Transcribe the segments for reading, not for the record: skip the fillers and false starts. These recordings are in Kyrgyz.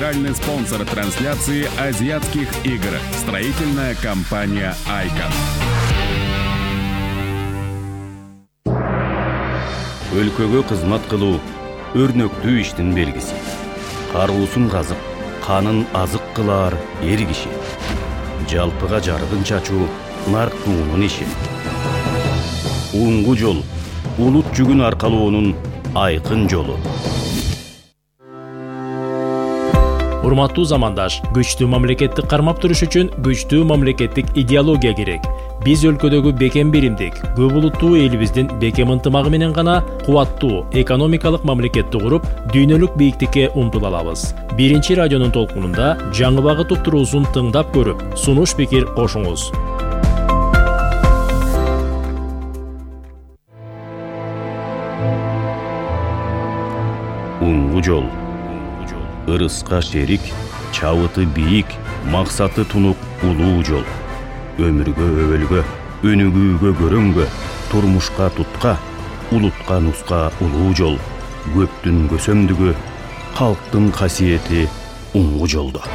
Генеральный спонсор трансляции азиатских игр. Строительная компания «Айкон». Өлкөгө кызмат кылуу өрнөктүү иштин белгиси. Каруусун казып, канын азык кылар эр киши. Жалпыга жарыгын чачуу нарктуунун иши. Улунгу жол улут жүгүн аркалоонун айкын жолу. Урматтуу замандаш, күчтүү мамлекетти кармап туруш үчүн күчтүү мамлекеттик идеология керек. Биз өлкөдөгү бекем биримдик, көп улуттуу элибиздин бекем ынтымагы менен гана кубаттуу экономикалык мамлекетти куруп, дүйнөлүк бийиктикке умтула алабыз. Биринчи радионун толкунунда жаңы багыт уктуруусун тыңдап көрүп, сунуш пикир кошуңуз. Улунгу жол. Ырыска шерик, чабыты бийик, максаты тунук улуу жол. Өмүргө өбөлгө, өнүгүүгө көрөнгө, турмушка тутка, улутка нуска улуу жол. Көптүн көсөмдүгү, калктын касиети улунгу жолдо.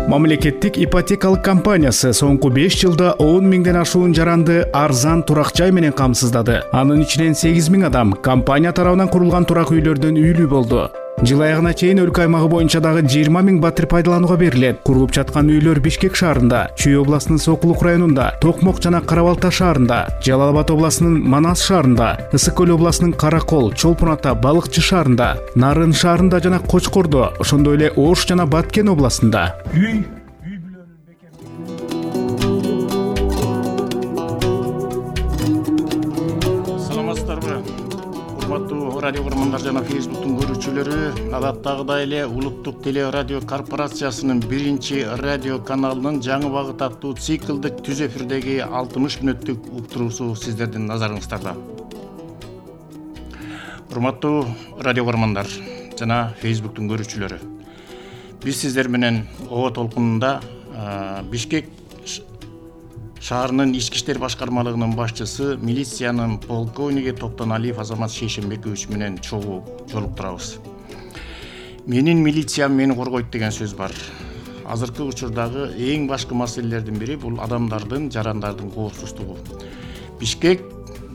Мамлекеттик ипотекалык компаниясы соңку 5 жылда 10 миңден ашуун жаранды арзан турак жай менен камсыздады. Анын ичинен 8 миң адам компания тарабынан курулган турак үйлөрдөн үйлүү болду. Жыл аягына чейин өлкө аймагы боюнча дагы 20 миң батир пайдаланууга берилет. Курулуп жаткан үйлөр Бишкек шаарында, Чүй областынын Сокулук районунда, Токмок жана Карабалта шаарында, Жалал Абад областынын Манас шаарында, Ысык көл областынын Каракол, Чолпон Ата, Балыкчы шаарында, Нарын шаарында жана Кочкордо, ошондой эле Ош жана Баткен областында. Радио көрөрмандар жана Фейсбуктун көрүүчүлөрү, адаттагыдай эле Улуттук теле радио корпорациясынын биринчи радио каналынын жаңы багыт аттуу циклдик түз эфирдеги 60 мүнөттүк уктуруусу сиздердин назарыңыздарда. Урматтуу радио көрөрмандар жана Фейсбуктун көрүүчүлөрү, биз сиздер менен оо толкунунда Бишкек шаарынын ички иштер башкармалыгынын башчысы, милициянын полковниги Токтоналиев Азамат Шейшенбекович менен чогуу жолуктурабыз. Менин милициям мени коргойт деген сөз бар. Азыркы учурдагы эң башкы маселелердин бири бул адамдардын, жарандардын коопсуздугу. Бишкек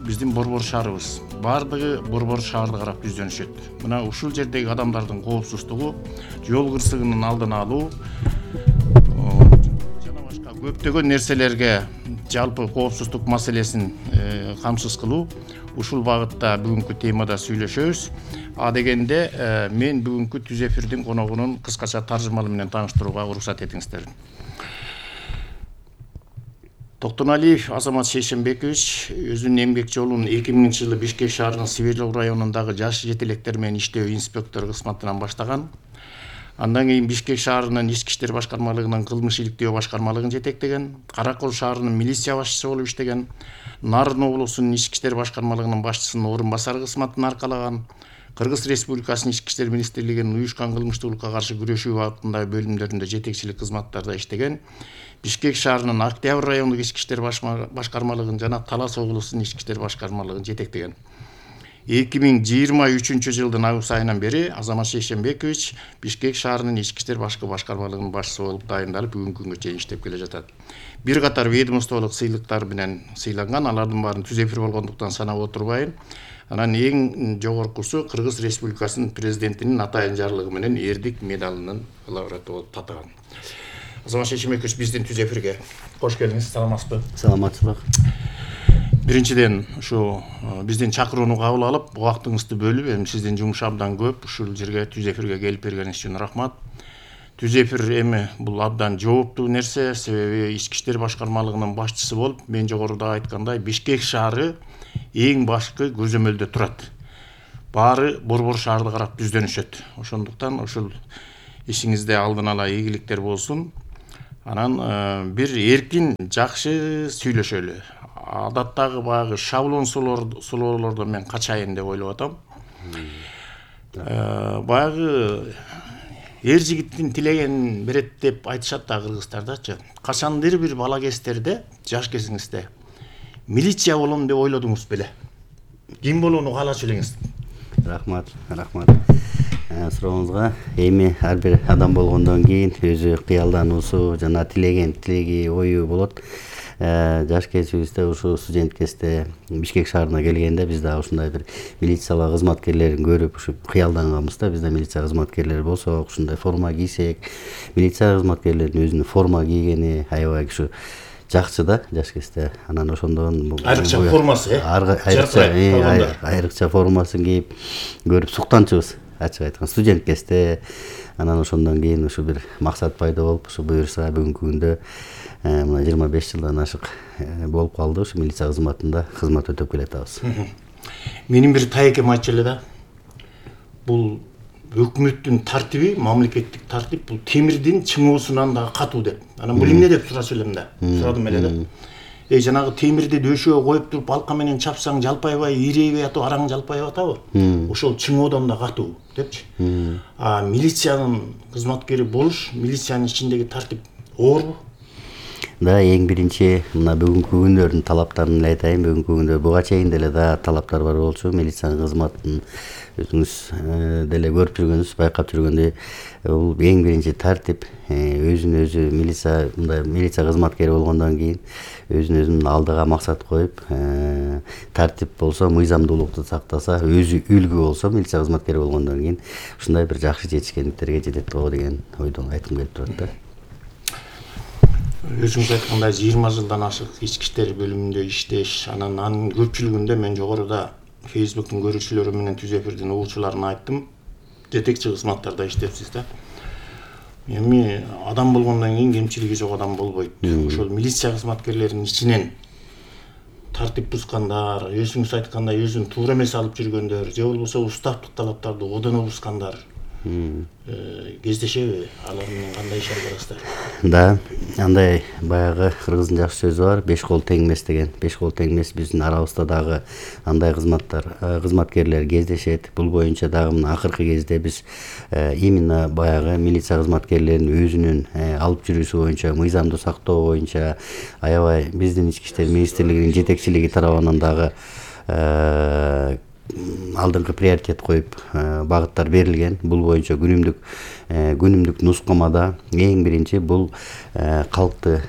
биздин борбор шаарыбыз. Бардыгы борбор шаарды карап түздөнүшөт. Мына ушул жердеги адамдардын коопсуздугу, жол кырсыгынын алдын алуу, көптөгөн нерселерге жалпы коопсуздук маселесин камсыз кылуу, ушул багытта бүгүнкү темада сүйлөшөбүз. А дегенде мен бүгүнкү түз эфирдин коногунун кыскача таржымалы менен тааныштырууга уруксат этиңиздер. Токтоналиев Азамат Шейшенбекович өзүнүн эмгек жолун 2000 жылы Бишкек шаарынын Свердлов районундагы жаш жетелектер менен иштөө инспектору кызматынан баштаган. Андан кийин Бишкек шаарынын ички иштер башкармалыгынын кылмыш иликтөө башкармалыгын жетектеген, Каракол шаарынын милиция башчысы болуп иштеген, Нарын облусунун ички иштер башкармалыгынын башчысынын орун басары кызматын аркалаган, Кыргыз Республикасынын ички иштер министрлигинин уюшкан кылмыштуулукка каршы күрөшүү багытындагы бөлүмдөрүндө жетекчилик кызматтарда иштеген, Бишкек шаарынын Октябрь райондук ички иштер башкармалыгын жана Талас облусунун ички иштер башкармалыгын жетектеген. 2023 жылдын август айынан бери Азамат Шейшенбекович Бишкек шаарынын ички иштер башкармалыгынын башчысы болуп дайындалып, бүгүнкү күнгө чейин иштеп келе жатат. Бир катар ведомстволук сыйлыктар менен сыйланган, алардын баарын түз эфир болгондуктан санап отурбайын. Анан эң жогоркусу Кыргыз Республикасынын президентинин атайын жарлыгы менен эрдик медалынын лауреаты болуп татыган. Азамат Шейшенбекович, биздин түз эфирге кош келиңиз. Саламатсызбы? Саламатсызбы. Биринчиден ушу биздин чакырууну кабыл алып, убактыңызды бөлүп, эми сиздин жумуш абдан көп, ушул жерге түз эфирге келип бергениңиз үчүн рахмат. Түз эфир эми бул абдан жооптуу нерсе, себеби ички иштер башкармалыгынын башчысы болуп, мен жогоруда айткандай, Бишкек шаары эң башкы көзөмөлдө турат. Баары борбор шаарды карап түздөнүшөт. Ошондуктан ушул ишиңизде алдын ала ийгиликтер болсун. Анан бир эркин, жакшы сүйлөшөлү. Адаттагы баягы шаблон суроолордон мен качайын деп ойлоп атам. Баягы эр жигиттин тилегенин берет деп айтышат да кыргыздардачы. Качандыр бир бала кездерде, жаш кезиңизде милиция болом деп ойлодуңуз беле? Ким болууну каалачу элеңиз? Рахмат. сурооңузга. Эми ар бир адам болгондон кийин өзү кыялдануусу жана тилеги ою болот. Жаш кезибизде ушу студент кезде Бишкек шаарына келгенде биз дагы ушундай бир милициялык кызматкерлерин көрүп ушу кыялданганбыз да. Бизде милиция кызматкерлери болсок, ушундай форма кийсек, милиция кызматкерлеринин өзүнүн форма кийгени аябай ушу жакчы да жаш кезде. Анан ошондон айрыкча формасы, айрыкча формасын кийип көрүп суктанчубуз, ачык айтканда студент кезде. Анан ошондон кийин ушу бир максат пайда болуп, ушу буюрса бүгүнкү күндө мына 25 жылдан ашык болуп калды ушу милиция кызматында кызмат өтөп келатабыз. Менин бир таекем айтчу эле да. Бул өкмөттүн тартиби, мамлекеттик тартип бул темирдин чыңоосунан дагы катуу деп. Анан бул эмне деп сурачу элем да. Сурадым эле да. Жанагы темирди дөшөө коюп туруп балка менен чапсаң жалпайбай, ирейбей атып араң жалпайып атабы? Ошол чыңоодон да катуу депчи. Милициянын кызматкери болуш, милициянын ичиндеги тартип оорбу? Да, эң биринчи мына бүгүнкү күндөрдүн талаптарын эле айтайын. Бүгүнкү күндө буга чейин деле да талаптар бар болчу. Милициянын кызматын өзүңүз деле көрүп жүргөнсүз, байкап жүргөндөй, бул эң биринчи тартип. Өзүн өзү милиция кызматкери болгондон кийин өзүн алдыга максат коюп, тартип болсо, мыйзамдуулукту сактаса, өзү үлгү болсо, милиция кызматкери болгондон кийин ушундай бир жакшы жетишкендиктерге жетет го деген ойдон айткым келип турат да. Өзүңүз айткандай 20 жылдан ашык ички иштер бөлүмүндө иштеш, анын көпчүлүгүндө мен жогоруда Facebooktун көрүүчүлөрү менен түз эфирдин угуучуларына айттым. Жетекчи кызматтарда иштепсиз да. Эми адам болгондон кийин кемчилиги жок адам болбойт. Ошол милиция кызматкерлеринин ичинен тартип бузгандар, өзүңүз айткандай өзүн туура эмес алып жүргөндөр, же болбосо уставдык талаптарды одоно бузгандар кездешеби? Алар менен кандай иш алып барасыздар? Да, андай баягы кыргыздын жакшы сөзү бар, 5 кол тең эмес деген. 5 кол тең эмес, биздин арабызда дагы андай кызматкерлер кездешет. Бул боюнча дагы мына акыркы кезде биз именно баягы милиция кызматкерлеринин өзүнүн алып жүрүүсү боюнча, мыйзамды сактоо боюнча аябай биздин ички иштер министрлигинин жетекчилиги тарабынан дагы алдыңкы приоритет коюп багыттар берилген. Бул боюнча күнүмдүк нускамада эң биринчи бул калкты,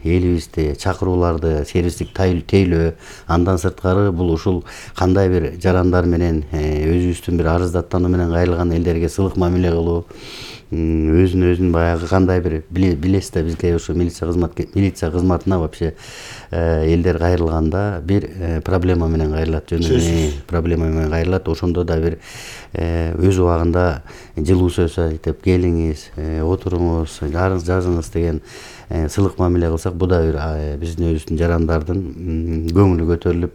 элибизди, чакырууларды сервистик тейлөө, андан сырткары бул ушул кандай бир жарандар менен өзүбүздүн бир арыздаттануу менен кайрылган элдерге сылык мамиле кылуу, өзүн баягы кандай бир билесиз да, бизге ушу милиция кызматына вообще элдер кайрылганда бир проблема менен кайрылат, проблема менен кайрылат. Ошондо да бир өз убагында жылуу сөз айтып, келиңиз, отуруңуз, жазыңыз деген сылык мамиле кылсак, бу да бир биздин өзүбүздүн жарандардын көңүлү көтөрүлүп,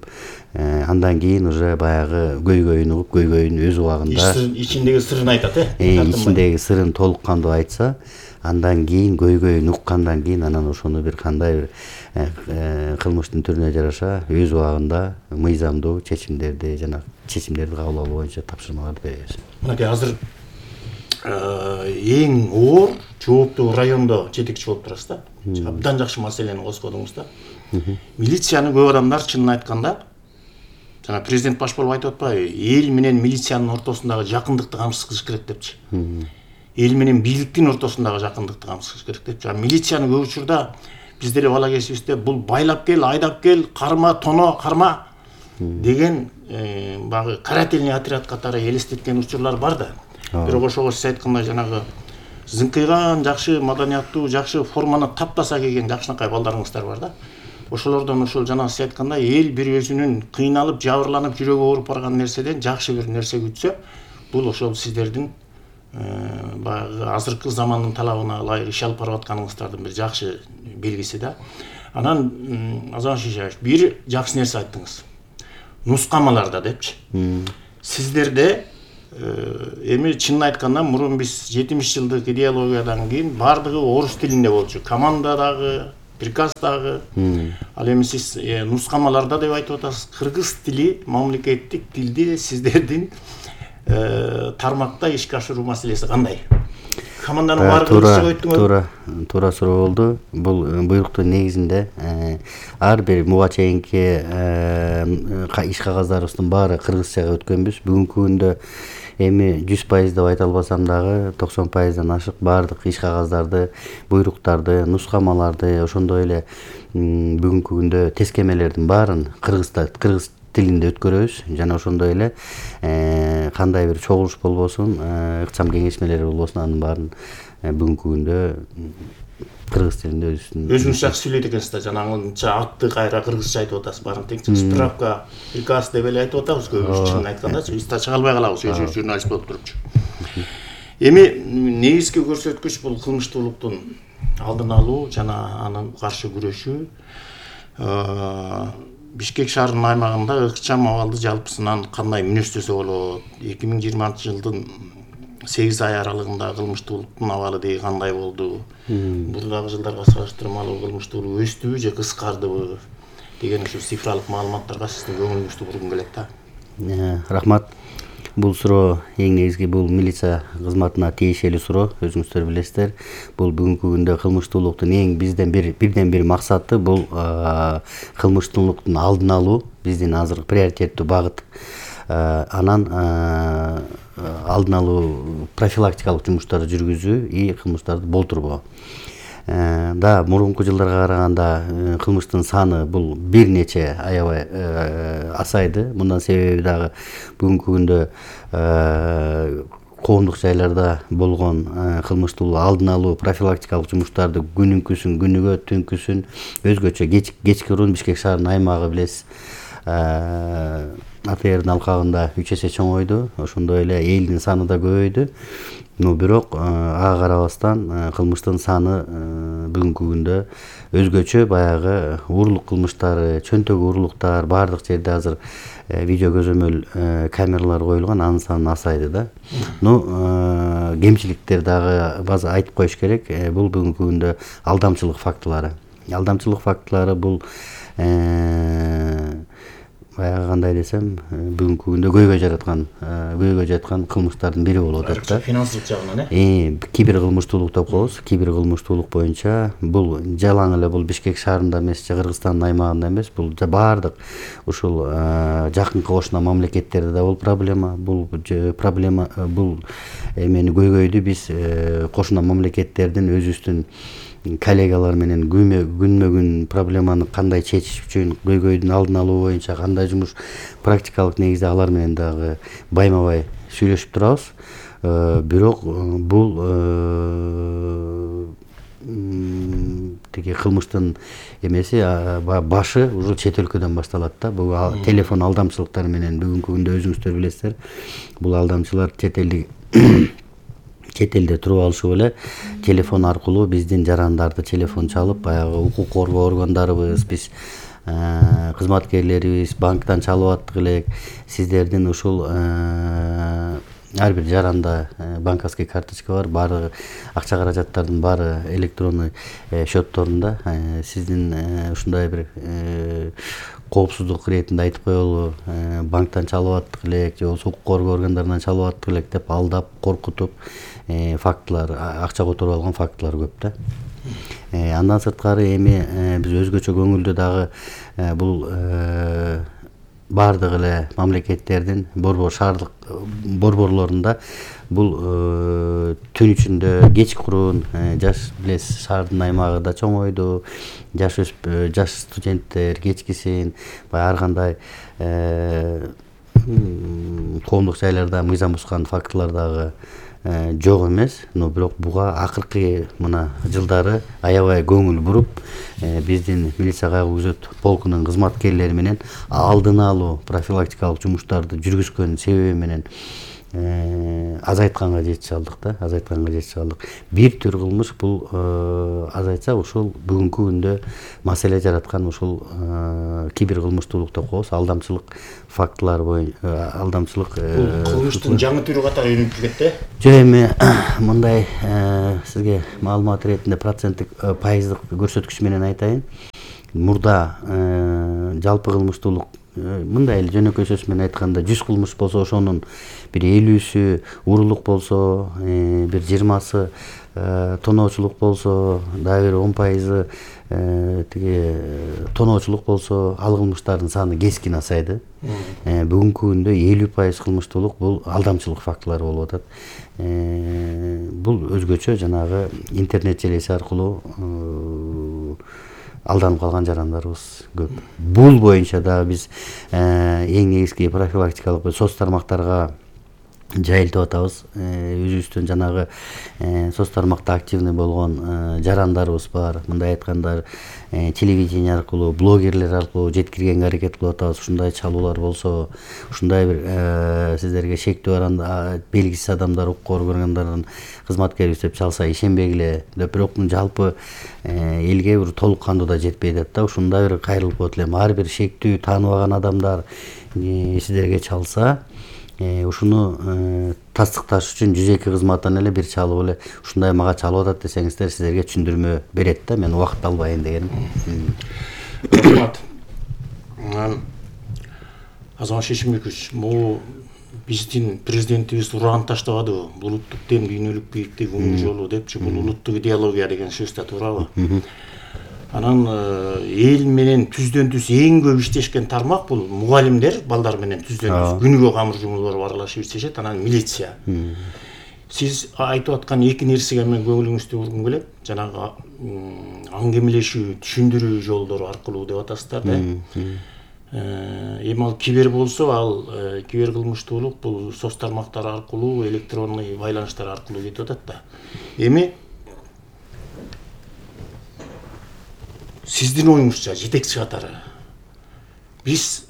андан кийин уже баягы көйгөйүн угуп, көйгөйүн өз убагында ичиндеги сырын айтат, ичиндеги сырын толук кандуу айтса, андан кийин көйгөйүн уккандан кийин анан ошону бир кандай бир кылмыштын түрүнө жараша өз убагында мыйзамдуу чечимдерди кабыл алуу боюнча тапшырмаларды беребиз. Мынакей азыр эң оор жооптуу райондо жетекчи болуп турасыз да. Абдан жакшы маселени козгодуңуз да. Милицияны көп адамдар чынын айтканда, жана президент баш болуп айтып атпайбы, эл менен милициянын ортосундагы жакындыкты камсыз кылыш керек депчи. Эл менен бийликтин ортосундагы жакындыкты камсыз кылыш керек депчи. Милицияны көп учурда биз деле бала кезибизде бул байлап кел, айдап кел, карма, тоно, карма деген багы карательный отряд катары элестеткен учурлар бар да. Бирок ошого сиз айткандай жанагы зыңкыйган, жакшы маданияттуу, жакшы форманы таптаса кийген жакшынакай балдарыңыздар бар да. Ошолордон ошол жана сиз айткандай эл бир өзүнүн кыйналып, жабырланып, жүрөгү ооруп барган нерседен жакшы бир нерсе күтсө, бул ошол сиздердин баягы азыркы замандын талабына ылайык иш алып барып атканыңыздардын бир жакшы белгиси да. Анан Азамат Шишаевич, бир жакшы нерсе айттыңыз. Нускамаларда депчи. Сиздерде эми чынын айтканда мурун биз 70 жылдык идеологиядан кийин бардыгы орус тилинде болчу. Командадагы, приказдагы. Ал эми сиз нускамаларда деп айтып атасыз. Кыргыз тили, мамлекеттик тилди сиздердин тармакта ишке ашыруу маселеси кандай? Команданын баары кыргызча өттүңөр. Туура суроо болду. Бул буйруктун негизинде ар бир буга чейинки иш кагаздарыбыздын баары кыргызчага өткөнбүз. Бүгүнкү күндө эми 100% деп айта албасам дагы 90%дан ашык баардык иш кагаздарды, буйруктарды, нускамаларды, ошондой эле бүгүнкү күндө тескемелердин баарын кыргыз тилинде өткөрөбүз. Жана ошондой эле кандай бир чогулуш болбосун, ыкчам кеңешмелер болбосун, анын баарын бүгүнкү күндө кыргыз тилинде өзүңүз жакшы сүйлөйт экенсиз да. Жанагынча атты кайра кыргызча айтып атасыз. Баарын теңчи справка, приказ деп эле айтып атабыз көбүбүз. Чынын айтканда, биз да чыга албай калабыз өзүбүз журналист болуп турупчу. Эми негизги көрсөткүч бул кылмыштуулуктун алдын алуу жана аны каршы күрөшүү. Бишкек шаарынын аймагында ыкчам абалды жалпысынан кандай мүнөздөсө болот? 2020-жылдын 8 ай аралыгында кылмыштуулуктун абалы деги кандай болду? Мурдагы жылдарга салыштырмалуу кылмыштуулук өстүбү же кыскардыбы деген ушу цифралык маалыматтарга сиздин көңүлүңүздү бургум келет да. Рахмат. Бул суроо эң негизги бул милиция кызматына тиешелүү суроо, өзүңүздөр билесиздер. Бул бүгүнкү күндө кылмыштуулуктун эң бирден бир максаты бул кылмыштуулуктун алдын алуу, биздин азыркы приоритеттүү багыт. Анан алдын алуу, профилактикалык жумуштарды жүргүзүү и кылмыштарды болтурбоо. Да, мурунку жылдарга караганда кылмыштын саны бул бир нече аябай асайды. Мындан себеби дагы бүгүнкү күндө коомдук жайларда болгон кылмыштуулук алдын алуу, профилактикалык жумуштарды күнүнкүсүн, күнүгө, түнкүсүн, өзгөчө кечкирүүн Бишкек шаарынын аймагы билесиз. АТРдин алкагында 3 эсе чоңойду, ошондой эле элдин саны да көбөйдү. Бирок ага карабастан кылмыштын саны бүгүнкү күндө өзгөчө баягы урлук кылмыштары, чөнтөк урлуктар баардык жерде азыр видео көзөмөл камералар коюлган, анын саны асайды да. Кемчиликтер дагы база айтып коюш керек. Бул бүгүнкү күндө алдамчылык фактылары. Алдамчылык фактылары бул баягы кандай десем, бүгүнкү күндө көйгөй жаткан кылмыштардын бири болуп атат да. Финансылык жагынан кибер кылмыштуулук деп коебуз. Кибер кылмыштуулук боюнча бул жалаң эле бул Бишкек шаарында эмес, Кыргызстандын аймагында эмес, бул баардык ушул жакынкы кошуна мамлекеттерде да бул проблема. Бул эмени көйгөйдү биз кошуна мамлекеттердин өзүбүздүн коллегалар менен күнмө-күн проблеманы кандай чечиш үчүн, көйгөйдүн алдын алуу боюнча кандай жумуш практикалык негизде алар менен дагы байма-бай сүйлөшүп турабыз. Бирок бул тиги кылмыштын эмеси башы уже чет өлкөдөн башталат да. Бул телефон алдамчылыктары менен бүгүнкү күндө өзүңүздөр билесиздер. Бул алдамчылар чет элде туруп алышып эле телефон аркылуу биздин жарандарды телефон чалып, баягы укук коргоо органдарыбыз, биз кызматкерлерибиз банктан чалып аттык элек, сиздердин ушул ар бир жаранда банковский карточка бар, баардыгы акча каражаттардын баары электронный счетторунда. Сиздин ушундай бир коопсуздук иретинде айтып коелу, банктан чалып аттык элек же болбосо укук коргоо органдарынан чалып аттык элек деп алдап, коркутуп фактылар, акча которуп алган фактылар көп да. Андан сырткары эми биз өзгөчө көңүлдүү дагы бул баардык эле мамлекеттердин шаардык борборлорунда бул түн ичинде кечкурун жаш билесиз, шаардын аймагы да чоңойду, жаш студенттер кечкисин баягы ар кандай коомдук жайларда мыйзам бузган фактылар дагы жок эмес. Но бирок буга акыркы мына жылдары аябай көңүл буруп, биздин милиция кайгы күзөт полкунун кызматкерлери менен алдын алуу, профилактикалык жумуштарды жүргүзгөн себеби менен азайтканга жетише алдык. Бир түр кылмыш бул азайтса, ушул бүгүнкү күндө маселе жараткан ушул кибер кылмыштуулук деп коебуз, алдамчылык фактылары боюнча, алдамчылык кылмыштын жаңы түрү катары өнүгүп кетти. Жок, эми мындай сизге маалымат иретинде проценттик пайыздык көрсөткүч менен айтайын. Мурда жалпы кылмыштуулук мындай эле жөнөкөй сөз менен айтканда 100 кылмыш болсо ошонун бир 50сү уруулук болсо, бир 20сы тоноочулук болсо, дагы бир 10% тиги тоноочулук болсо, ал кылмыштардын саны кескин азайды. Бүгүнкү күндө 50% кылмыштуулук бул алдамчылык фактылары болуп атат. Бул өзгөчө жанагы интернет желеси аркылуу алданып калган жарандарыбыз көп. Бул боюнча дагы биз эң негизги профилактикалык соц тармактарга жайылтып атабыз. Өзүбүздөн жанагы соц тармакта активный болгон жарандарыбыз бар. Мындай айтканда телевидение аркылуу, блогерлер аркылуу жеткиргенге аракет кылып атабыз. Ушундай чалуулар болсо, ушундай бир сиздерге шектүү бар белгисиз адамдар, укук органдардын кызматкерибиз деп чалса ишенбегиле деп, бирок жалпы элге бир толук кандуу да жетпей атат да. Ушундай бир кайрылып коет элем. Ар бир шектүү тааныбаган адамдар сиздерге чалса, ушуну тастыкташ үчүн 102 кызматтан эле бир чалып эле ушундай мага чалып атат десеңиздер, сиздерге түшүндүрмө берет да. Мен убакыт албайын дегеним. Рахмат. Азамат Шешимбекович, бул биздин президентибиз уран таштабадыбы? Бул улуттук дем дүйнөлүк бийиктик оң жолу депчи, бул улуттук идеология деген сөз да туурабы? Анан эл менен түздөн түз эң көп иштешкен тармак бул мугалимдер, балдар менен түздөн түз күнүгө камыр жумуулар аралашып иштешет, анан милиция. Сиз айтып аткан эки нерсеге мен көңүлүңүздү бургум келет. Жанагы аңгемелешүү, түшүндүрүү жолдору аркылуу деп атасыздар да. Эми ал кибер болсо, ал кибер кылмыштуулук бул соц тармактар аркылуу, электронный байланыштар аркылуу кетип атат да. Эми сиздин оюңузча жетекчи катары биз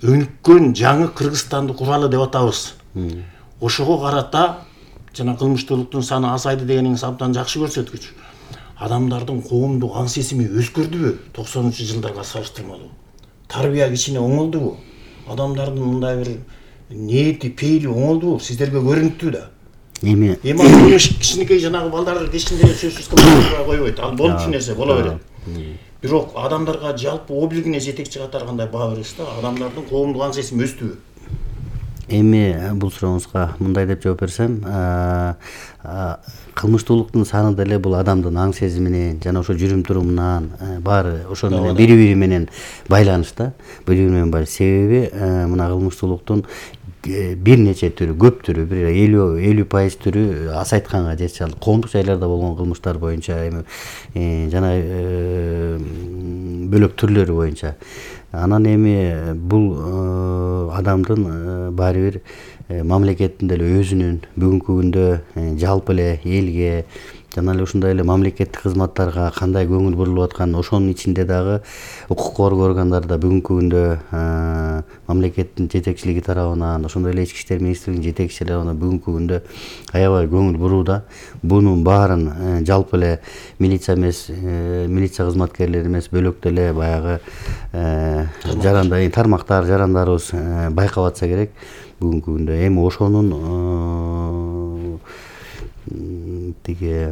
өнүккөн жаңы Кыргызстанды куралы деп атабыз. Ошого карата жана кылмыштуулуктун саны азайды дегениңиз абдан жакшы көрсөткүч. Адамдардын коомдук аң сезими өзгөрдүбү 90-жылдарга салыштырмалуу? Тарбия кичине оңолдубу? Адамдардын мындай бир ниети, пейили оңолдубу? Сиздерге көрүнүптү да. Эми ал кичинекей жанагы балдар кечинде сөзсүз кылмыштууга койбойт. Ал болчу нерсе боло берет. Бирок адамдарга жалпы облигине жетекчи катары кандай баа бересиз да? Адамдардын коомдук аң сезими өстүбү? Эми бул сурооңузга мындай деп жооп берсем, кылмыштуулуктун саны деле бул адамдын аң сезиминен жана ошо жүрүм турумунан баары ошо менен бири-бири менен байланышта. Бири-бири менен байланыш. Себеби мына кылмыштуулуктун бир нече түрү, көп түрү, бир 50% түрү азайтканга жетиши алды. Коомдук жайларда болгон кылмыштар боюнча эми жана бөлөк түрлөрү боюнча. Анан эми бул адамдын баары бир мамлекеттин деле өзүнүн бүгүнкү күндө жалпы эле элге жана эле ушундай эле мамлекеттик кызматтарга кандай көңүл бурулуп аткан, ошонун ичинде дагы укук коргоо органдарда бүгүнкү күндө мамлекеттин жетекчилиги тарабынан, ошондой эле Ички иштер министрлигинин жетекчилиги тарабынан бүгүнкү күндө аябай көңүл бурууда. Бунун баарын жалпы эле милиция эмес, милиция кызматкерлери эмес, бөлөк деле баягы жарандар, тармактар, жарандарыбыз байкап атса керек бүгүнкү күндө. Эми ошонун тиги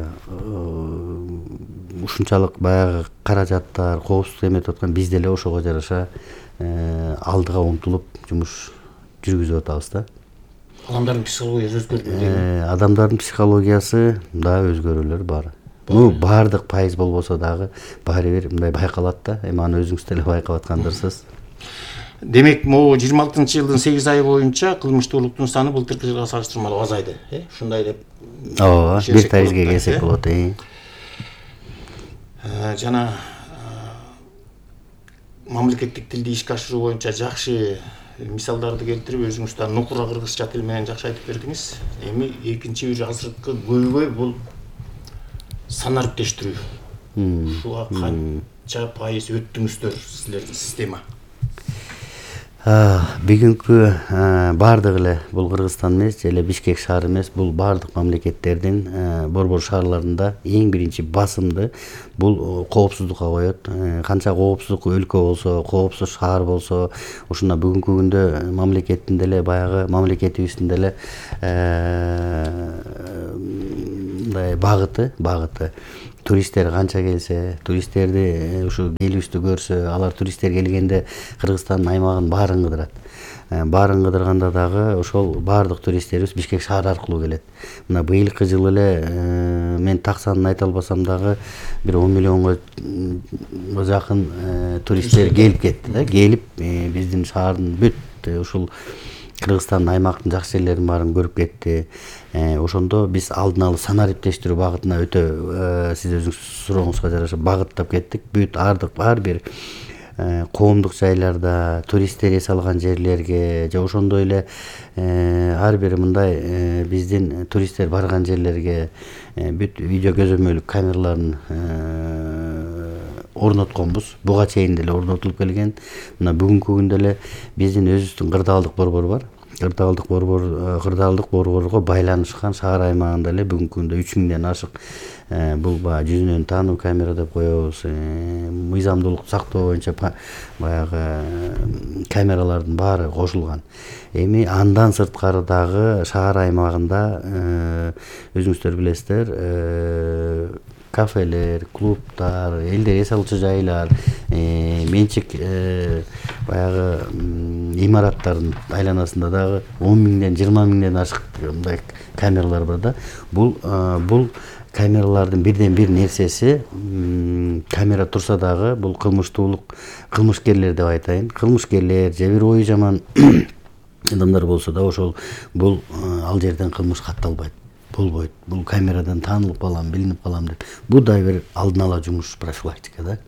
ушунчалык баягы каражаттар, коопсуздук эметип аткан, биз деле ошого жараша алдыга умтулуп жумуш жүргүзүп атабыз да. Адамдардын психологиясы өзгөрдү. Адамдардын психологиясы да өзгөрүүлөр бар. Ну, баардык пайыз болбосо дагы баары бир мындай байкалат да. Эми аны өзүңүз деле байкап аткандырсыз. Демек, могу 26-жылдын 8 айы боюнча кылмыштуулуктун саны былтыркы жылга салыштырмалуу азайды, ушундай деп. Ооба, бир таризге келсек болот. Жана мамлекеттик тилди ишке ашыруу боюнча жакшы мисалдарды келтирип, өзүңүз да нукура кыргызча тил менен жакшы айтып бердиңиз. Эми экинчи бир азыркы көйгөй бул санариптештирүү. Ушуга канча пайыз өттүңүздөр силердин система? Бүгүнкү баардык эле бул Кыргызстан эмес, эле Бишкек шаары эмес, бул баардык мамлекеттердин борбор шаарларында эң биринчи басымды бул коопсуздукка коет. Канча коопсуздук өлкө болсо, коопсуз шаар болсо, ушуна бүгүнкү күндө мамлекеттин деле баягы мамлекетибиздин деле мындай багыты туристтер канча келсе, туристтерди ушу элибизди көрсө, алар туристтер келгенде Кыргызстандын аймагын баарын кыдырат. Баарын кыдырганда дагы ошол баардык туристтерибиз Бишкек шаары аркылуу келет. Мына быйылкы жылы эле мен так санын айта албасам дагы бир 10 миллионго жакын туристтер келип кетти да. Келип биздин шаардын бүт ушул Кыргызстандын аймактын жакшы жерлерин баарын көрүп кетти. Ошондо биз алдын алып санариптештирүү багытына өтө сиз өзүңүз сурооңузга жараша багыттап кеттик. Бүт ар бир коомдук жайларда, туристтер эс алган жерлерге же ошондой эле ар бир мындай биздин туристтер барган жерлерге бүт видео көзөмөлдүк камераларын орнотконбуз. Буга чейин деле орнотулуп келген. Мына бүгүнкү күндө эле биздин өзүбүздүн Кырдаалдык борбор бар. Кырдаалдык борборго байланышкан шаар аймагында эле бүгүнкү күндө 3000ден ашык бул баягы жүзүнөн таануу камера деп коебуз. Мыйзамдуулукту сактоо боюнча баягы камералардын баары кошулган. Эми андан сырткары дагы шаар аймагында өзүңүздөр билесиздер, кафелер, клубтар, элдер эс алчу жайлар, менчик баягы имараттардын айланасында дагы 10 миңден 20 миңден ашык мындай камералар бар да. Бул камералардын бирден бир нерсеси, камера турса дагы бул кылмышкерлер деп айтайын. Кылмышкерлер же бир ою жаман адамдар болсо да ошол бул ал жерден кылмыш катталбайт. Болбойт. Бул камерадан таанылып калам, билинип калам деп. Бул да бир алдын ала жумуш, профилактика да.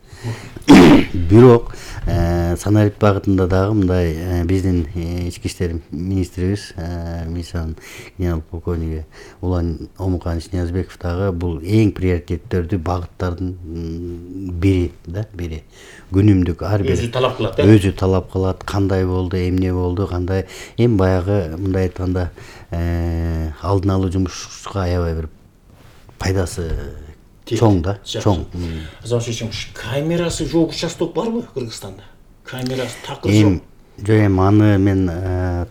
Бирок санарип багытында дагы мындай биздин ички иштер министрибиз милициянын генерал полковниги Улан Омуканович Ниязбеков дагы бул эң приоритеттердүү багыттардын бири. Күнүмдүк ар бир өзү талап кылат, кандай болду, эмне болду, кандай эми баягы мындай айтканда алдын алуу жумушка аябай бир пайдасы чоң да, чоң. Камерасы жок участок барбы Кыргызстанда? Камерасы такыр жок. Эми аны мен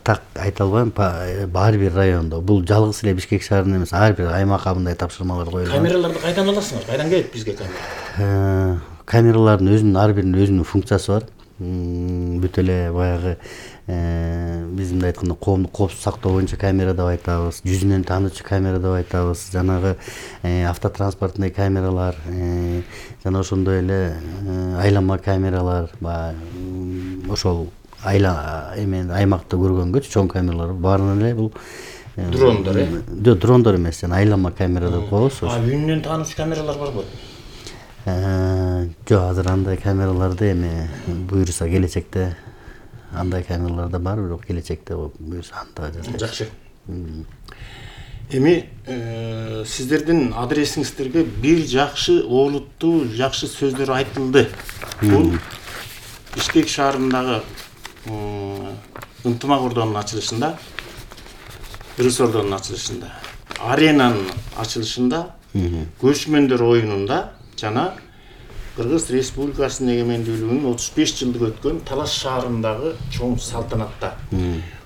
так айта албайм. Ар бир райондо, бул жалгыз эле Бишкек шаарында эмес, ар бир аймакка мындай тапшырмалар коюлган. Камераларды кайдан аласыңар? Кайдан келет бизге камера? Камералардын өзүнүн ар биринин өзүнүн функциясы бар. Бүт эле баягы биз мындай айтканда коомдук коопсуздук сактоо боюнча камера деп айтабыз, жүзүнөн таануучу камера деп айтабыз, жанагы автотранспортный камералар, жана ошондой эле айланма камералар, ошол аймакта көргөнгөчү чоң камералар баарынан эле бул дрондор, жок, дрондор эмес, жана айланма камера деп коебуз. Үнүнөн таануучу камералар барбы? Жок, азыр андай камераларды эми буюрса келечекте андай камералар да бар, бирок келечекте буюрса анда жакшы. Эми сиздердин адресиңиздерге бир жакшы олуттуу жакшы сөздөр айтылды. Бул Бишкек шаарындагы ынтымак ордонун ачылышында, Кыргыз ордонун ачылышында, аренанын ачылышында, көчмөндөр оюнунда жана Кыргыз Республикасынын эгемендүүлүгүнүн 35 жылдык өткөн Талаш шаарындагы чоң салтанатта.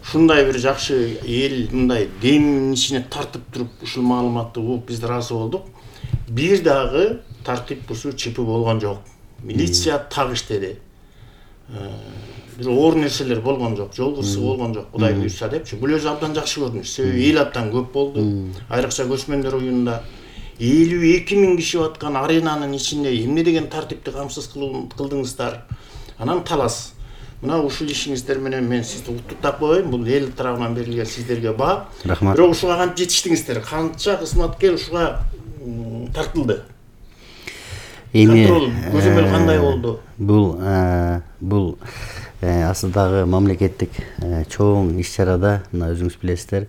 Ушундай бир жакшы эл мындай демин ичине тартып туруп ушул маалыматты угуп биз ыраазы болдук. Бир дагы тартип бузуу чипи болгон жок. Милиция так иштеди. Бир оор нерселер болгон жок, жол кырсыгы болгон жок. Кудай буйрса депчи. Бул өзү абдан жакшы көрүнүш. Себеби эл абдан көп болду. Айрыкча көчмөндөр оюнунда 52 миң киши баткан аренанын ичинде эмне деген тартипти камсыз кылдыңыздар. Анан Талас. Мына ушул ишиңиздер менен мен сизди куттуктап коеюн. Бул эл тарабынан берилген сиздерге баа. Рахмат. Бирок ушуга кантип жетиштиңиздер? Канча кызматкер ушуга тартылды? Эми көзөмөл кандай болду? Бул асылдагы мамлекеттик чоң иш-чарада, мына өзүңүз билесиздер,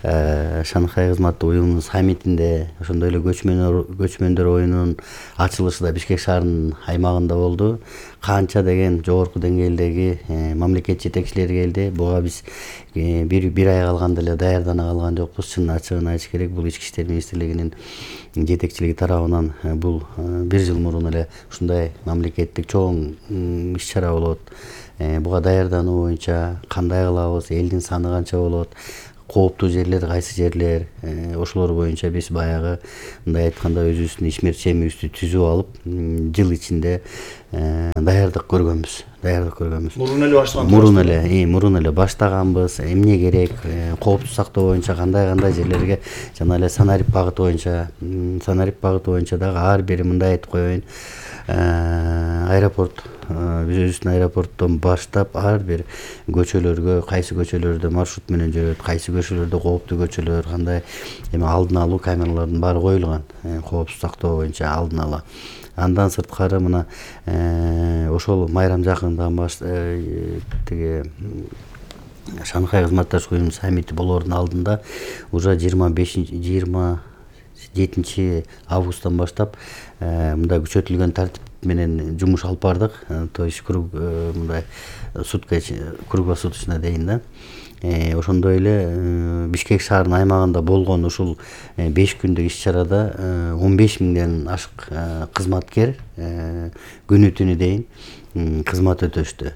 Шанхай кызматтык уюмунун саммитинде, ошондой эле көчмөндөр оюнунун ачылышы да Бишкек шаарынын аймагында болду. Канча деген жогорку деңгээлдеги мамлекет жетекчилери келди. Буга биз бир ай калганда эле даярдана калган жокпуз. Чын ачыгын айтыш керек, бул Ички иштер министрлигинин жетекчилиги тарабынан бул бир жыл мурун эле ушундай мамлекеттик чоң иш-чара болот. Буга даярдануу боюнча кандай кылабыз, элдин саны канча болот, кооптуу жерлер кайсы жерлер, ошолор боюнча биз баягы мындай айтканда өзүбүздүн ишмерчемибизди түзүп алып, жыл ичинде даярдык көргөнбүз. Мурун эле баштаганбыз. Эмне керек, кооптук сактоо боюнча кандай жерлерге, жана эле санарип багыты боюнча дагы ар бир мындай айтып коеюн, аэропорт, биз өзүбүздүн аэропорттон баштап ар бир көчөлөргө, кайсы көчөлөрдө маршрут менен жүрөт, кайсы көчөлөрдө кооптуу көчөлөр, кандай эми алдын алуу камералардын баары коюлган, коопсуз сактоо боюнча алдын ала. Андан сырткары мына ошол майрам жакындаган тиги Шанхай кызматташтык уюмунун саммити болоордун алдында уже 27 августтан баштап мындай күчөтүлгөн тартип менен жумуш алып бардык. То есть мындай круглосуточно дейин да. Ошондой эле Бишкек шаарынын аймагында болгон ушул 5 күндүк иш-чарада 15 миңден ашык кызматкер күнү түнү дейин кызмат өтөштү.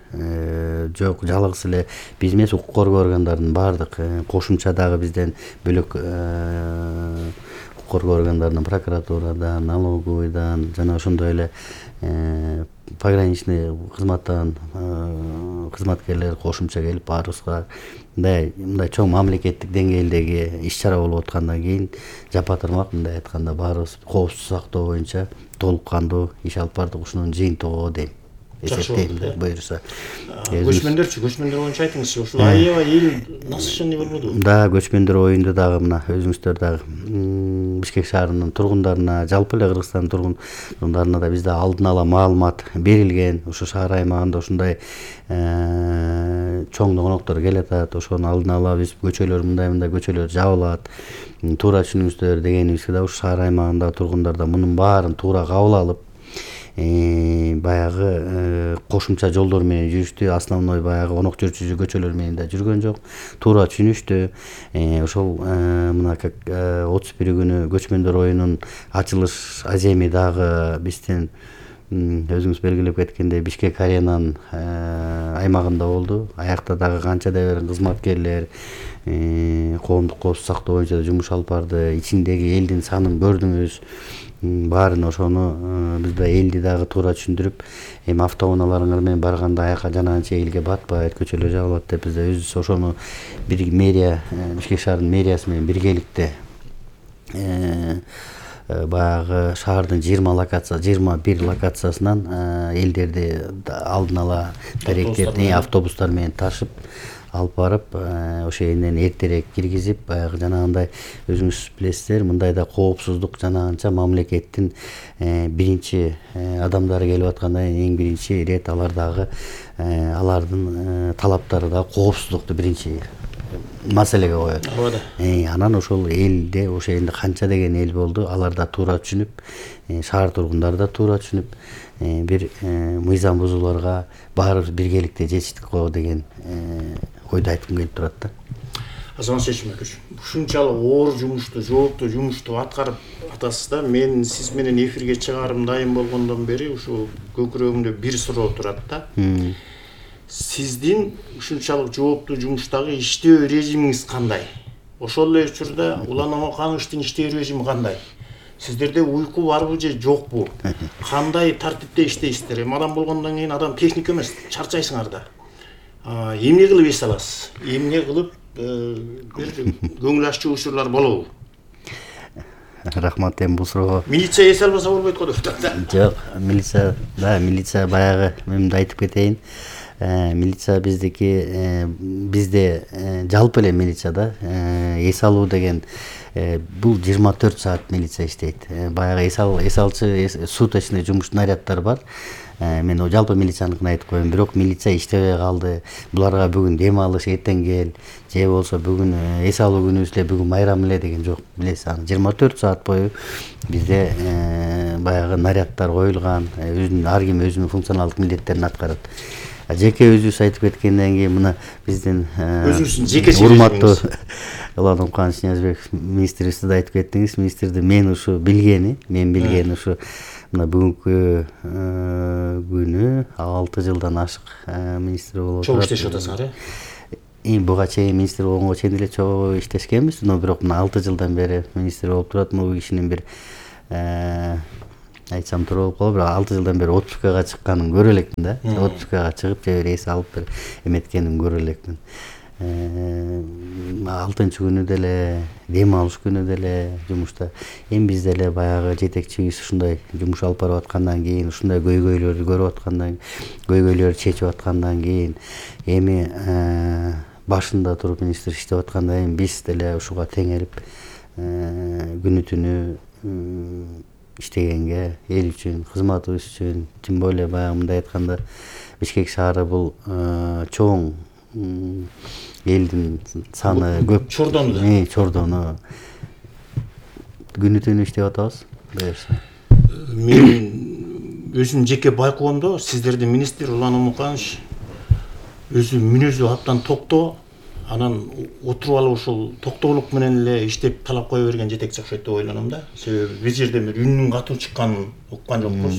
Жок, жалгыз эле биз эмес, укук коргоо органдарынын баардык кошумча дагы бизден бөлөк укук коргоо органдарынан, прокуратурадан, налоговойдон жана ошондой эле пограничный кызматтан кызматкерлер кошумча келип баарыбызга мындай чоң мамлекеттик деңгээлдеги иш-чара болуп аткандан кийин жапа-тырмак мындай айтканда баарыбыз коопсуз сактоо боюнча толук кандуу иш алып бардык. Ушунун жыйынтыгы дейм. Эсептейм да, буюрса. Көчмөндөр боюнча айтыңызчы, ушул аябай эл насыщенный болбоду? Да, көчмөндөр оюнду дагы мына өзүңүздөр дагы Бишкек шаарынын тургундарына, жалпы эле Кыргызстандын тургундарына да бизде алдын ала маалымат берилген. Ушу шаар аймагында ушундай чоң догоноктор келатат, ошону алдын ала биз көчөлөр мындай көчөлөр жабылат, туура түшүнүңүздөр дегенибизге да ушу шаар аймагындагы тургундар да мунун баарын туура кабыл алып, баягы кошумча жолдор менен жүрүштү. Основной баягы онок жүрчү көчөлөр менен да жүргөн жок, туура түшүнүштү. Ошол мына 31 күнү көчмөндөр оюнунун ачылыш аземи дагы биздин өзүңүз белгилеп кеткендей Бишкек аренанын аймагында болду. Аякта дагы канча да кызматкерлер коомдук коопсуз сактоо боюнча жумуш алып барды. Ичиндеги элдин санын көрдүңүз. Баарын ошону биз да элди дагы туура түшүндүрүп, эми автоунааларыңар менен барганда аяка жанагынча элге батпайт, көчөлөр жабылат деп биз да өзүбүз ошону бир мэрия, Бишкек шаарынын мэриясы менен биргеликте баягы шаардын 21 локациясынан элдерди алдын ала даректерди автобустар менен ташып алып барып, ошо жерден эртерээк киргизип, баягы жанагындай өзүңүз билесиздер, мындай да коопсуздук жанагынча мамлекеттин биринчи адамдары келип атканда эң биринчи ирет алар дагы алардын талаптары да коопсуздукту биринчи маселеге коет. Анан ошол элде ошо жерде канча деген эл болду, алар да туура түшүнүп, шаар тургундары да туура түшүнүп, бир мыйзам бузууларга баарыбыз биргеликте жетиштик го деген ойду айткым келип турат да. Азамат Шешмеков, ушунчалык оор жумушту, жооптуу жумушту аткарып атасыз да. Мен сиз менен эфирге чыгарым дайым болгондон бери ушу көкүрөгүмдө бир суроо турат да. Сиздин ушунчалык жооптуу жумуштагы иштөө режимиңиз кандай? Ошол эле учурда Улан Омокановичтин иштөө режими кандай? Сиздерде уйку барбы же жокпу? Кандай тартипте иштейсиздер? Эми адам болгондон кийин адам техник эмес, чарчайсыңар да. Эмне кылып эс аласыз? Эмне кылып бир көңүл аччуу учурлар болобу? Рахмат, эми бул суроого. Милиция эс албаса болбойт го деп атат да. Жок, милиция баягы мен да айтып кетейин. Милиция бизде жалпы эле милицияда эс алуу деген бул 24 саат милиция иштейт. Баягы эс алчы суточный жумуш наряддар бар. Мен жалпы милицияныкын айтып коеюн, бирок милиция иштебей калды. Буларга бүгүн дем алыш, эртең кел, же болсо бүгүн эс алуу күнүбүз эле, бүгүн майрам эле деген жок. Билесиз, 24 саат бою бизде баягы наряддар коюлган, ар ким өзүнүн функционалдык милдеттерин аткарат. Жеке өзүбүз айтып кеткенден кийин мына биздин өзүңүздүн жеке урматтуу Улан Омоканович Ниязбеков министрибизди да айтып кеттиңиз. Министрди мен билгени ушу мына бүгүнкү күнү 6 жылдан ашык министр болуп чоң иштешип атасыңар, буга чейин министр болгонго чейин деле чогуу иштешкенбиз, но бирок мына 6 жылдан бери министр болуп турат. Бул кишинин бир айтсам туура болуп калат, бирок 6 жылдан бери отпускага чыкканын көрө элекмин да. Отпускага чыгып же бир эс алып бир эметкенин көрө элекмин. 6-күнү деле, дем алыш күнү деле жумушта. Эми биз деле баягы жетекчибиз ушундай жумуш алып барып аткандан кийин, ушундай көйгөйлөрдү көрүп аткандан, көйгөйлөрдү чечип аткандан кийин, эми башында туруп министр иштеп аткандан кийин биз деле ушуга теңелип күнү түнү иштегенге, эл үчүн, кызматыбыз үчүн, тем более баягы мындай айтканда Бишкек шаары бул чоң элдин саны көп. Чордону күнү түнү иштеп атабыз. Мен өзүм жеке байкоомдо сиздерди министр Улан Умуканович өзү мүнөзү абдан токтоо, анан отуруп алып ушул токтоолук менен эле иштеп талап кое берген жетекчи окшойт деп ойлоном да. Себеби бир жерде бир үнүнүн катуу чыкканын уккан жокпуз.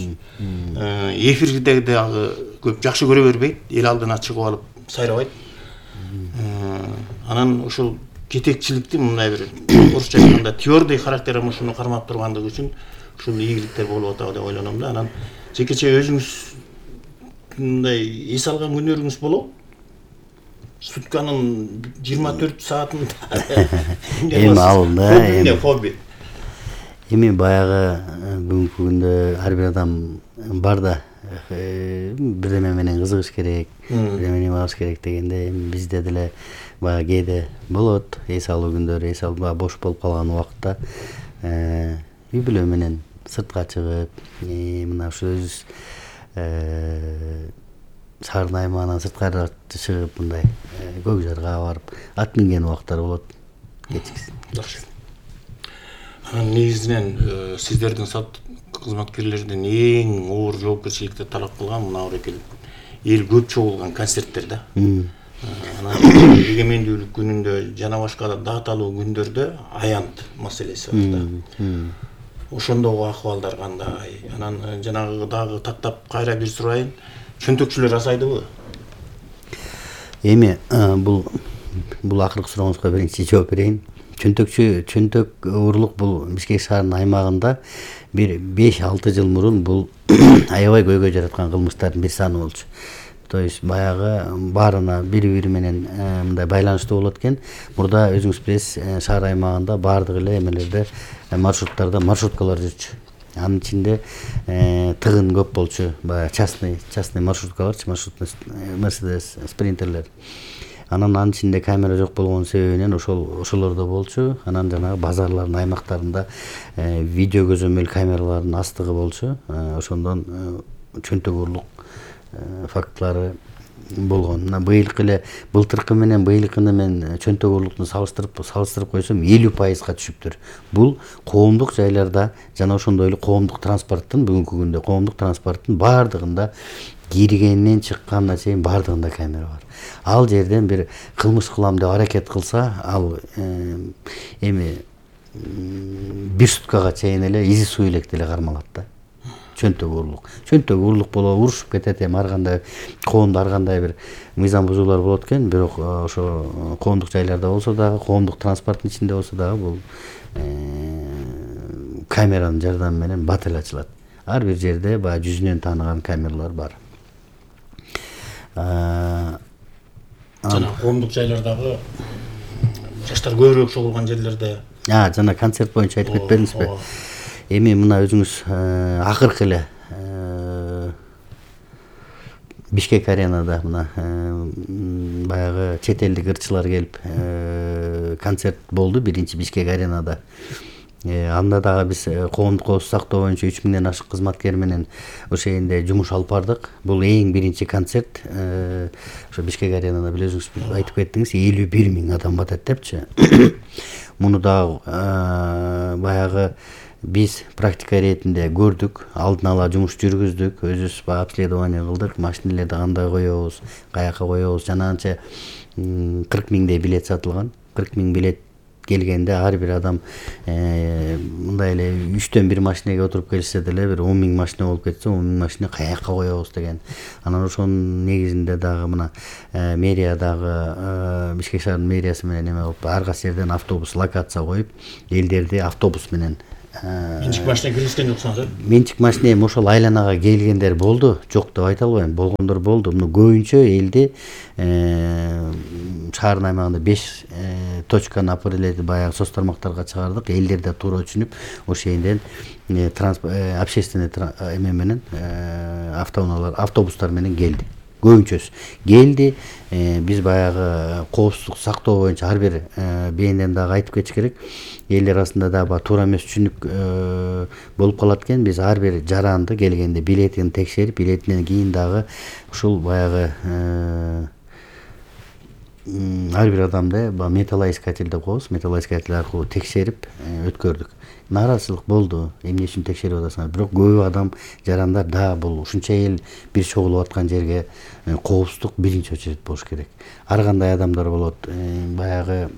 Эфирде дагы көп жакшы көрө бербейт, эл алдына чыгып алып сайрабайт. Анан ушул жетекчиликтин мындай бир орусча айтканда твердый характер мушуну кармап тургандыгы үчүн ушул ийгиликтер болуп атабы деп ойлоном да. Анан жекече өзүңүз мындай эс алган күнүңүз болобу? Сутканын 24 саатын эми алында эми хобби. Эми баягы бүгүнкү күндө ар бир адам бар да, бирдеме менен кызыгыш керек, бирдеме алыш керек дегенде, эми бизде деле баягы кээде болот, эс алуу күндөрү, эс алуу бош болуп калган убакытта үй бүлө менен сыртка чыгып, мына ушу өзүбүз шаардын аймагынан сырткары чыгып мындай көк жарга барып ат минген убактар болот кечкисин. Жакшы. Анан негизинен сиздердин кызматкерлердин эң оор жоопкерчиликти талап кылган мына эл көп чогулган концерттер да. Анан эгемендүүлүк күнүндө жана башка дааталуу күндөрдө аянт маселеси бар да. Ошондогу акыбалдар кандай? Анан жанагы дагы таттап кайра бир сурайын. Чөнтөкчүлөр азайдыбы? Эми бул акыркы сурооңузга биринчи жооп берейин. Чөнтөк урлук бул Бишкек шаарынын аймагында бир 5-6 жыл мурун бул аябай көйгөй жараткан кылмыштардын бир саны болчу. То есть баягы баарына бири менен мындай байланыштуу болот экен. Мурда өзүңүз билесиз, шаар аймагында баардык эле эмелерде маршруттарда маршруткалар жүрчү. Анын ичинде тыгын көп болчу, баягы частный маршруткаларчы, маршрутный Mercedes спринтерлер. Анын ичинде камера жок болгон себебинен ошолордо болчу. Анан жанагы базарлардын аймактарында видео көзөмөл камераларынын астыгы болчу. Ошондон чөнтөк урлук фактылары болгон. Мына былтыркы менен быйылкыны мен чөнтөк урлукту салыштырып койсом 50%га түшүптүр. Бул коомдук жайларда жана ошондой эле коомдук транспорттун бүгүнкү күндө коомдук транспорттун баардыгында киргенинен чыкканына чейин баардыгында камера бар. Ал жерден бир кылмыш кылам деп аракет кылса, ал эми бир суткага чейин эле изи суу элек деле кармалат да. Чөнтөк урлук болуп урушуп кетет, эми ар кандай коомдо ар кандай бир мыйзам бузуулар болот экен, бирок ошо коомдук жайларда болсо дагы, коомдук транспорттун ичинде болсо дагы бул камеранын жардамы менен бат эле ачылат. Ар бир жерде баягы жүзүнөн тааныган камералар бар. Жана коомдук жайлардагы жаштар көбүрөөк чогулган жерлерде. Жана концерт боюнча айтып кетпедиңизби? Эми мына өзүңүз акыркы эле Бишкек аренада мына баягы чет элдик ырчылар келип концерт болду биринчи Бишкек аренада. Анда дагы биз коомдук коопсуздук сактоо боюнча 3000ден ашык кызматкер менен ошол жерде жумуш алып бардык. Бул эң биринчи концерт. Ошо Бишкек аренада билесиңиз, айтып кеттиңиз, 51.000 адам батат депчи. Муну дагы баягы биз практика иретинде көрдүк, алдын ала жумуш жүргүздүк, өзүбүз обследование кылдык, машиналерди кандай коебуз, каяка коебуз, жана анча 40.000дей билет сатылган. 40.000 билет келгенде ар бир адам мындай эле 3төн 1 машинеге отуруп келишсе деле бир 10 000 машина болуп кетсе 10 000 машина каяка коебуз деген. Анан ошонун негизинде дагы мына мэрия дагы Бишкек шаарынын мэриясы менен эме болуп ар кайсы жерден автобус локация коюп элдерди автобус менен менчик машина киргизген жоксуңар? Менчик машина эми ошол айланага келгендер болду, жок деп айта албайм, болгондор болду. Мына көбүнчө элди шаардын аймагында 5 точканы определить баягы соц тармактарга чыгардык. Элдер да туура түшүнүп, ошол жерден общественный эме менен автобустар менен келди. Көбүнчөсү келди. Биз баягы коопсуздук сактоо боюнча ар бир бээнден дагы айтып кетиш керек. Элдер арасында дагы туура эмес түшүнүк болуп калат экен. Биз ар бир жаранды келгенде билетин текшерип, билетинен кийин дагы ушул баягы ар бир адамды металлоискатель деп коебуз. Металлоискатель аркылуу текшерип өткөрдүк. Нааразычылык болду. Эмне үчүн текшерип атасыңар? Бирок көп адам жарандар да бул ушунча эл бир чогулуп аткан жерге коопсуздук биринчи очередь болуш керек. Ар кандай адамдар болот. Баягы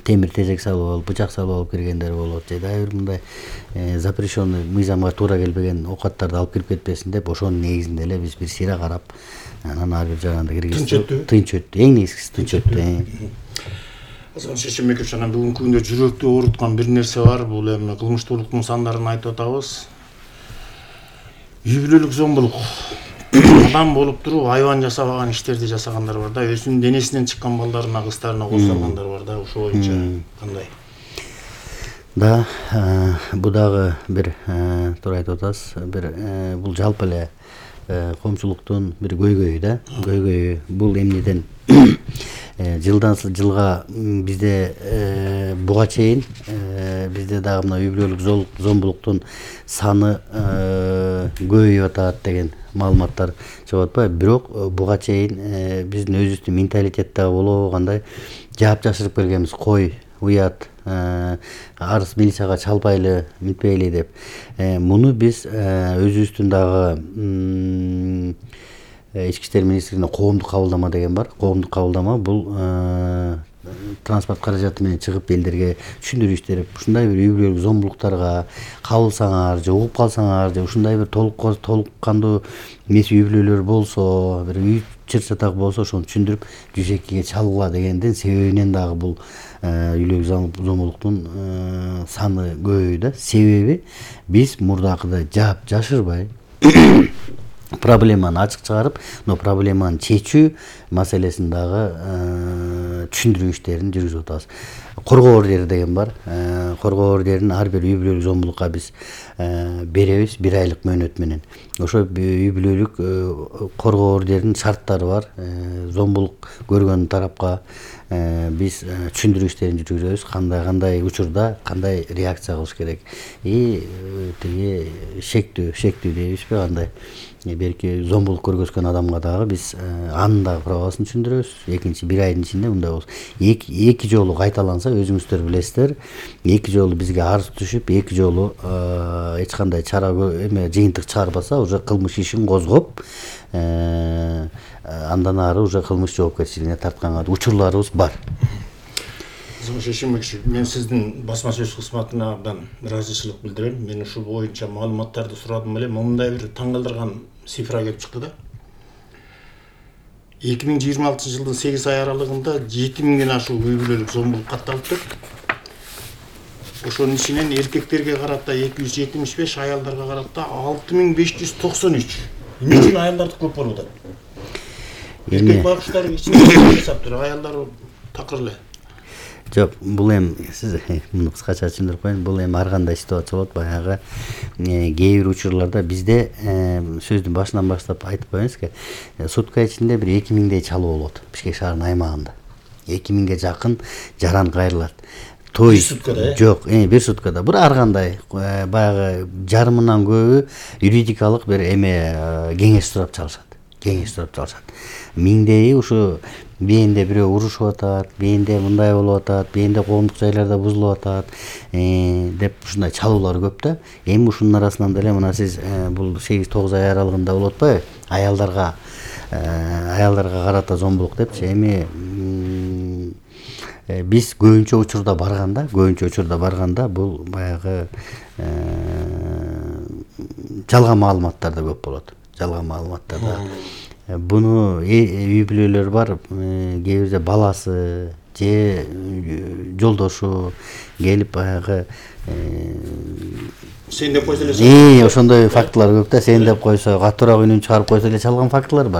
темир тежек салып алып, бычак салып алып киргендер болот. Же дагы бир мындай запрещенный мыйзамга туура келбеген оокаттарды алып кирип кетпесин деп ошонун негизинде эле биз бир сыйра карап, анан ар бир жаранды киргиздик. Тынч өттү. Эң негизгиси тынч өттү. Азан Шешенбекович, анан бүгүнкү күндө жүрөктү ооруткан бир нерсе бар. Бул эми кылмыштуулуктун сандарын айтып атабыз. Үй бүлөлүк зомбулук. Адам болуп туруп айбан жасабаган иштерди жасагандар бар да, өзүнүн денесинен чыккан балдарына, кыздарына кол салгандар бар да. Ошол боюнча кандай? Да, бул дагы бир туура айтып атасыз. Бир бул жалпы эле коомчулуктун бир көйгөйү да. Көйгөйү бул эмнеден жылдан жылга бизде буга чейин бизде дагы мына үй бүлөлүк зомбулуктун саны көбөйүп атат деген маалыматтар чыгып атпайбы? Бирок буга чейин биздин өзүбүздүн менталитеттеги болобу кандай жаап жашырып келгенбиз. Кой, уят, арыз милицияга чалбайлы, мынтпейли деп. Муну биз өзүбүздүн дагы Ички иштер министрлигинде коомдук кабылдама деген бар. Коомдук кабылдама бул транспорт каражаты менен чыгып элдерге түшүндүрүү иштерип, ушундай бир үй бүлөлүк зомбулуктарга кабылсаңар же угуп калсаңар же ушундай бир толук кандуу эмес үй бүлөлөр болсо, бир үй чыр-чатак болсо ошону түшүндүрүп 102ге чалгыла дегендин себебинен дагы бул үй бүлөлүк зомбулуктун саны көбөйдү. Себеби биз мурдакыдай жаап жашырбай проблеманы ачык чыгарып, но проблеманы чечүү маселесин дагы түшүндүрүү иштерин жүргүзүп атабыз. Коргоо ордери деген бар. Коргоо ордерин ар бир үй бүлөлүк зомбулукка биз беребиз 1 айлык мөөнөт менен. Ошо үй бүлөлүк коргоо ордеринин шарттары бар. Зомбулук көргөн тарапка биз түшүндүрүү иштерин жүргүзөбүз. Кандай учурда кандай реакция кылыш керек. Тиги шектүү дейбизби кандай? Берки зомбулук көргөзгөн адамга дагы биз анын дагы правосын түшүндүрөбүз. Экинчи 1 айдын ичинде мындай болсо, эки жолу кайталанса өзүңүздөр билесиздер, эки жолу бизге арыз түшүп, эки жолу эч кандай чара эме жыйынтык чыгарбаса, уже кылмыш ишин козгоп, андан ары уже кылмыш жоопкерчилигине тартканга учурларыбыз бар. Шешенбекович, мен сиздин басма сөз кызматына абдан ыраазычылык билдирем. Мен ушул боюнча маалыматтарды сурадым эле. Мындай бир таң калтырган цифра келип чыкты да. 2026 жылдын 8 ай аралыгында 7000ден ашуун үй бүлөлүк зомбулук катталыптыр. Ошонун ичинен эркектерге карата 275, аялдарга карата 6593. Эмне үчүн аялдарды көп болуп атат? Эркек багыштар ичинде жасаптыр, аялдар такыр эле. Жок, бул сиз муну кыскача түшүндүрүп коеюн. Бул ар кандай ситуация болот. Баягы кээ бир учурларда бизде сөздүн башынан баштап айтып коеюнузбу, сутка ичинде бир 2000дей чалуу болот Бишкек шаарынын аймагында. 2000ге жакын жаран кайрылат. Той жок, бир суткада. Бир ар кандай баягы жарымынан көбү юридикалык бир кеңеш сурап чалышат. Миңдеи ушу бээнде бирөө урушуп атат, бээнде мындай болуп атат, бээнде коомдук жайларда бузулуп атат деп ушундай чалуулар көп да. Эми ушунун арасынан деле мына сиз бул 8-9 ай аралыгында болуп атпайбы? Аялдарга карата зомбулук депчи. Эми биз көбүнчө учурда барганда бул баягы жалган маалыматтар да көп болот. Буну үй бүлөлөр бар, кээ бирде баласы же жолдошу келип баягы сен деп койсо эле ошондой фактылар көп да. Сен деп койсо, катуураак үнүн чыгарып койсо эле чалган фактылар бар.